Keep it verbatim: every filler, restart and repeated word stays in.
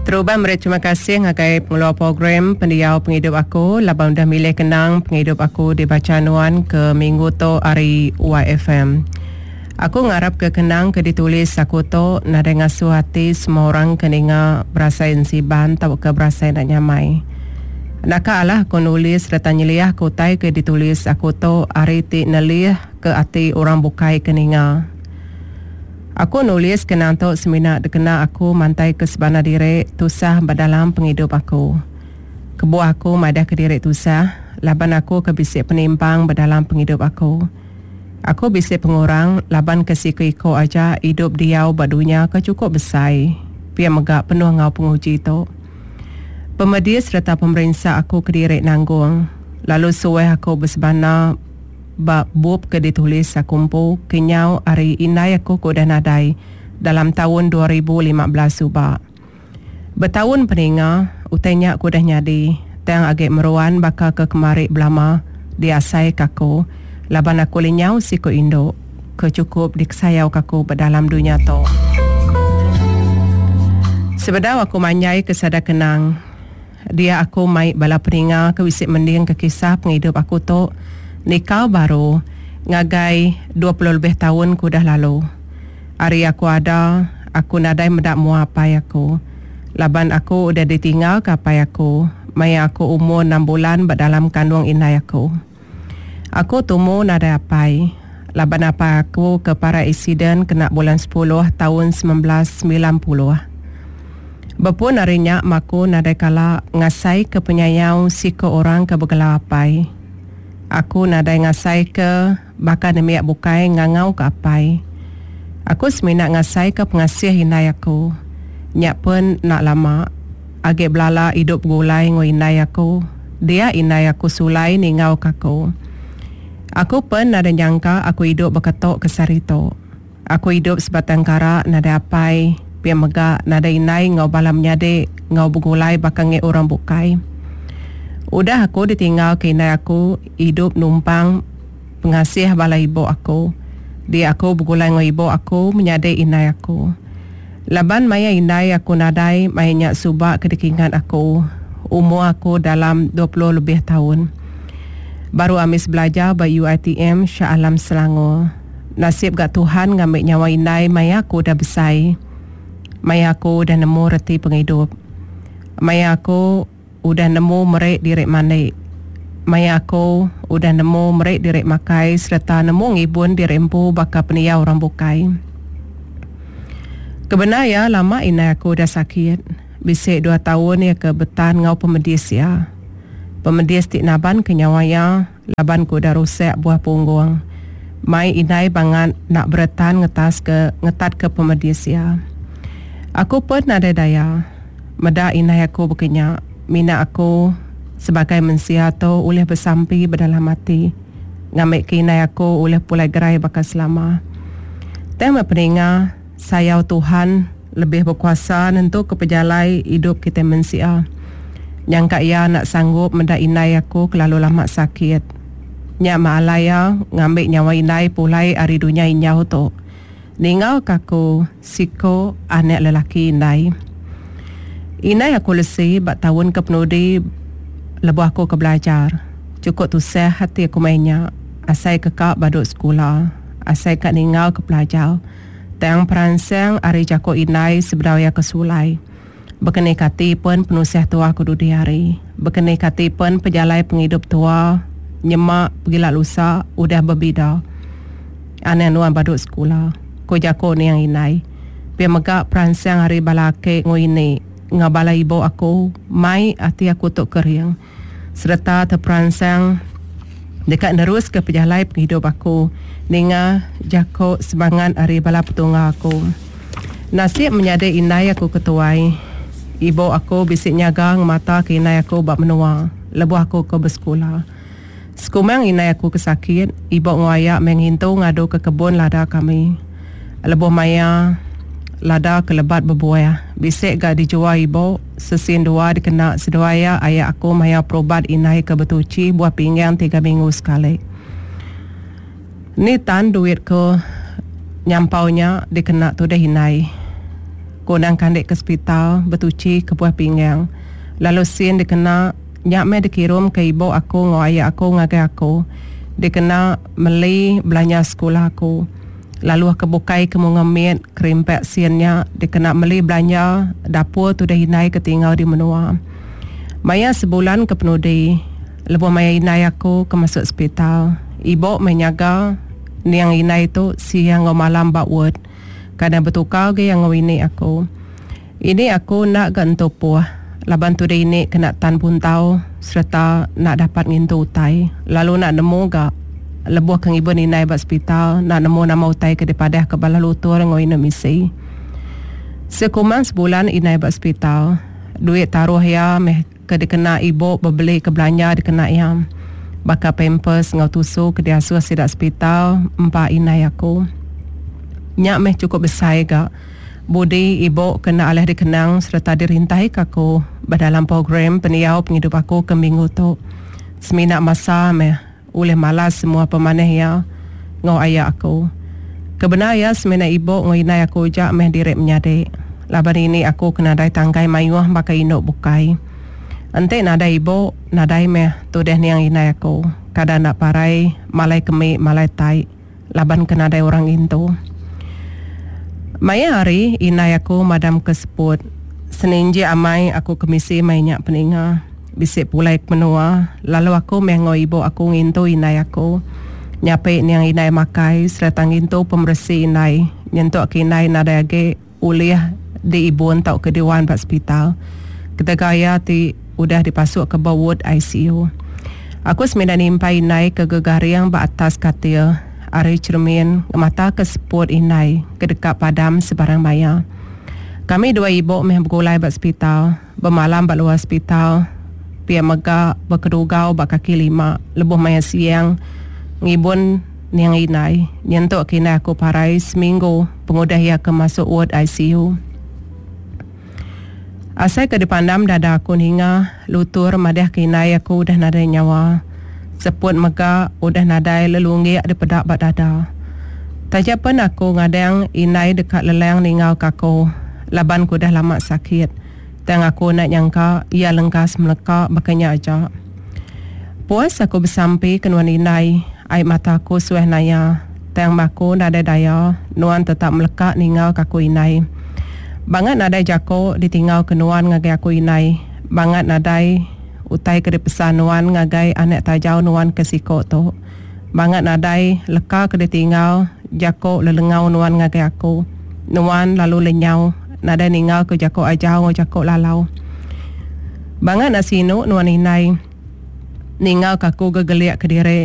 Terubah meri terima kasih ngagai pengeluar program Pendiau Pengidup Aku laban udah milih kenang pengidup aku dibacha nuan ke minggu tu ari Y F M. Aku ngarap ke kenang ke ditulis aku tu nadai ngasuh ati semua orang ke ninga berasai ensiban tauka berasai enda nyamai. Naka alah aku nulis sereta nyeliah ke utai ke ditulis aku tu ari ti nelih ke ati orang bukai ke ninga. Aku nulis kenang tu semina dikena aku mantai ke sebana diri tusah ba dalam pengidup aku. Kebuah aku madah ke diri tusah laban aku ke bisi penimpang ba dalam pengidup aku. Aku bisi pengurang laban ke siku-iku aja idup diau ba dunya ke cukup besai. Pia mega penuh ngau penguji tu. Pemedis sereta pemerinsa aku kediri nanggung. Lalu suah aku bersebana ba bup ke ditulis aku empu kenyau ari indai aku ke udah nadai dalam tahun dua ribu lima belas suba. Bertahun peninga, utai nya ke udah nyadi, tang agi meruan baka ke kemari belama diasai ke aku, laban aku lenyau siku indu ke cukup dikesayau ke aku ba dalam dunia tu. Sebedau aku manjai ke sada kenang, dia aku mai bala peninga ke bisi mending ke kisah pengidup aku tu nikau baru ngagai dua puluh lebih tahun ke udah lalu. Hari aku ada, aku nadai meda mua apai aku. Laban aku udah ditinggal ke apai aku, maya aku umur enam bulan ba dalam kandung indai aku. Aku tumu nadai apai, laban apai aku ke para insiden kena bulan sepuluh tahun sembilan belas sembilan puluh. Berpun hari nya maku nadai kala ngasai ke penyayau siku orang ke bergelar apai. Aku nadai ngasai ke baka nemiak bukai ngangau ke apai. Aku semina ngasai ke pengasih indai aku. Nyak pun nak lama. Agi belala hidup gulai ngau indai aku. Dia indai aku sulai ningau ke aku. Aku pun nadai nyangka aku hidup berketok ke sehari tu. Aku hidup sebatang kara nadai apai. Pia mega nadai indai ngau bala menyadik ngau bergulai baka ngi orang bukai. Udah aku ditinggal ke indai aku hidup numpang pengasih bala ibu aku. Dia aku bergulai ngau ibu aku menyadik indai aku. Laban maya indai aku nadai maya nyak subak ke dikingat aku. Umur aku dalam dua puluh lebih tahun. Baru amis belajar ba U I T M Shah Alam Selangor. Nasib gak Tuhan ngambil nyawa indai maya aku dah besai. Maya aku dah nemu reti penghidup. Maya aku udah nemu merik diri mandi. Maya aku udah nemu merik diri makai serta nemu ngibun diri empu baka peniau orang bukai. Kebenar ya lama indai aku dah sakit. Bisik dua tahun ya ke betan ngau pemedis ya. Pemedis ti naban ke nyawa ya laban ku dah rusak buah punggung. Mai indai bangat nak beretan ngetas ke ngetat ke pemedis ya. Aku pun nadai daya. Meda indai aku berkenyak. Mina aku sebagai mensia tu ulih bersampi berdalam hati. Ngambil ke indai aku ulih pulai gerai bakal selama. Tema peninga sayau Tuhan lebih berkuasa nentu ke pejalai hidup kita mensia. Nyangka ia nak sanggup meda indai aku kelalu lama sakit. Nyak maalaya ngambil nyawa indai pulai ari dunia injau tu. Ninggal kaku siko anak lelaki indai. Indai aku lesi bak tahun ke penudi lebuh aku ke belajar. Cukup tusah hati aku mainnya. Asai kekak baduk sekolah. Asai kak ninggal ke pelajar. Tang peransang ari jako indai sebedau ia ke sulai. Bekeni kati pun penusah tua aku dudi hari. Bekeni kati pun pejalai penghidup tua nyemak pergila lusa udah berbeda. Aneh nuan baduk sekolah. Ko jako niang indai. Pia mega peransang hari bala ake ngui ngau bala ibu aku mai hati aku tok kering serta terperansang dekat nerus ke pejalai penghidup aku ninga jako semangat hari bala petunggal aku. Nasib menjadi indai aku ketuai. Ibu aku bisik nyaga mata ke indai aku bak menua lebuh aku ke bersekolah. Sekumang indai aku kesakit, ibu ngoyak menghintu ngadu ke kebun lada kami. Lebuh maya lada kelebat berbuah. Bisik gak dijual ibu, sesin dua dikena seduaya ayah aku maya perobat indai ke bertuci buah pinggang tiga minggu sekali. Ni tan duit ke nyampaunya dikena tu deh indai. Kundang kandik ke sepital betuchi ke buah pinggang. Lalu sin dikena nya meh dikirum ke ibu aku enggau aya aku ngagai aku dikena meli belanja sekula aku. Lalu ke bukai ke munga mit kerimpak sin nya dikena meli belanja dapur tudah indai ke tinggal di menua. Maya sebulan ke penudi lebuh maya indai aku ke masuk sepital, ibu meh nyaga niang indai tu siang enggau malam ba ward. Kadang betukar ga iya enggau ini aku. Ini aku enda ga entu puh laban tudah ini kena tan buntau sereta enda dapat ngintu utai lalu enda nemu ga lebuh ke ngibun indai ba sepital enda nemu nama utai ke dipadah ke bala lutur enggau indu misi. Sekumbang sebulan indai ba sepital, duit taruh iya meh ke dikena ibu bebeli ke belanja dikena iya baka pampers enggau tusu ke diasuh sida sepital empa indai aku. Nya meh chukup besai ga budi ibu ke enda alih dikenang sereta dirintaika aku ba dalam program pendiau pengidup aku ke minggu tu. Semina masa meh ulih malas semua pemanah iya enggau aya aku. Ke bendar iya semina ibu enggau indai aku aja meh diri menyadi laban ini aku ke nadai tangkai mayuh baka indu bukai. Enti nadai ibu, nadai meh tudah niang indai aku. Kada enda parai malai kemi malai tai laban ke nadai orang ngintu. Maya hari indai aku madam ke seput. Seninjik amai aku kemisi maya nya peninga. Bisi pulai ke menua lalu aku meh enggau ibu aku ngintu indai aku. Nyapi niang indai makai sereta ngintu pemeresi indai nyentuk ke indai nadai agi ulih diibun tauka diwan ba sepital ketegal iya ti udah dipasukka ba ward I C U. Aku semina nimpai indai ke gegaring ba atas katil ari cheremin ngemataka seput indai ke deka padam sebarang maya. Kami dua ibu meh begulai ba sepital, bemalam ba luar sepital, pia mega bekedugau ba kaki lima lebuh maya siang ngibun niang indai nyentuk ke indai aku parai seminggu pengudah iya ke masuk ward I C U. Asai ke dipandam dada aku ninga lutur madah ke indai aku udah nadai nyawa. Seput mega udah nadai lelunggik dipeda ba dada. Taja pen aku ngadang indai deka lelang ninggal ke aku laban ku udah lama sakit. Tang aku enda nyangka iya lengkas meleka baka nya aja. Puas aku besampi ke nuan indai, ai mata aku suah naya. Tang aku nadai daya, nuan tetap meleka ninggal ke aku indai. Bangat nadai jako ditinggal ke nuan ngagai aku indai. Bangat nadai utai ke dipesan nuan ngagai anak tajau nuan ke siko tu. Bangat nadai leka ke ditinggal jako lelengau nuan ngagai aku. Nuan lalu lenyau nadai ninggal ke jako ajau enggau jako lalau. Bangat nak sinu nuan indai ninggal ke aku gegelik ke diri.